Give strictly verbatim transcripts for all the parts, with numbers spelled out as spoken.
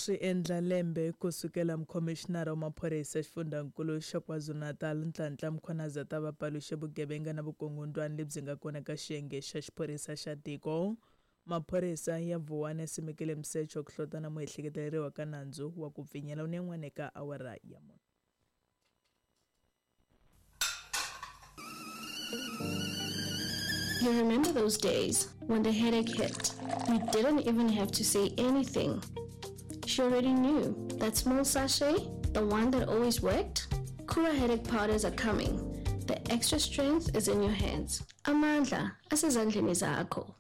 Swi endla lembe ku sukela mukhomishinara wa maphorisa xifundzankulu xa KwaZulu-Natal Nhlanhla Mkhwanazi ta va paluxe vugevenga na vukungundwani lebyi nga kona ka xiyenge xa xiphorisa xa tiko. Maphorisa ya Vuwani ya simekile misecho ku hlota na muehleketeleriwa ka nandzu wa ku pfinyela unen'wana eka awara ya mune. You remember those days when the headache hit? You didn't even have to say anything. She already knew that small sachet, the one that always worked. Kura headache powders are coming. The extra strength is in your hands. Amandla, asezandleni zakho.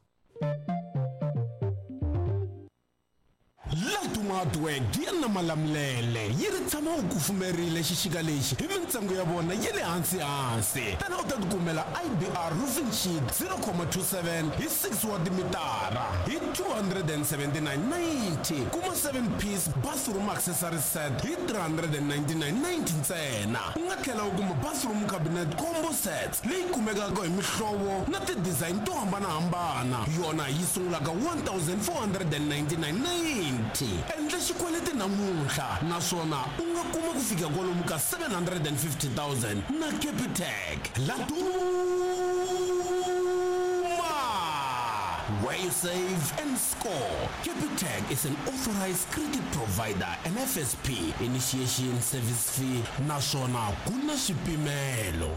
Ladumadweg ya na Malamulele yi ri tshama u kufumerile xixika lexi hi mintsengo ya vona ya le hansi hansi. Tana u ta tikumela I B R roofing sheet zero comma two seven hi six wa timitara hi two hundred and seventy-nine ninety. Kuma seven piece bathroom accessory set hi three hundred and ninety-nine ninety ntsena. U nga tlhela u kuma bathroom cabinet combo sets leyi kumekaka hi mihlovo na ti-design to hambanahambana. Yona yi sungulaka one thousand four hundred and ninety-nine ninety. Endla xikweleti namuntlha naswona u nga kuma ku fika kwalomu ka seven hundred and fifty thousand na Capitec. Laduma, where you save and score. Capitec is an authorized credit provider and F S P initiation service fee naswona ku na swipimelo.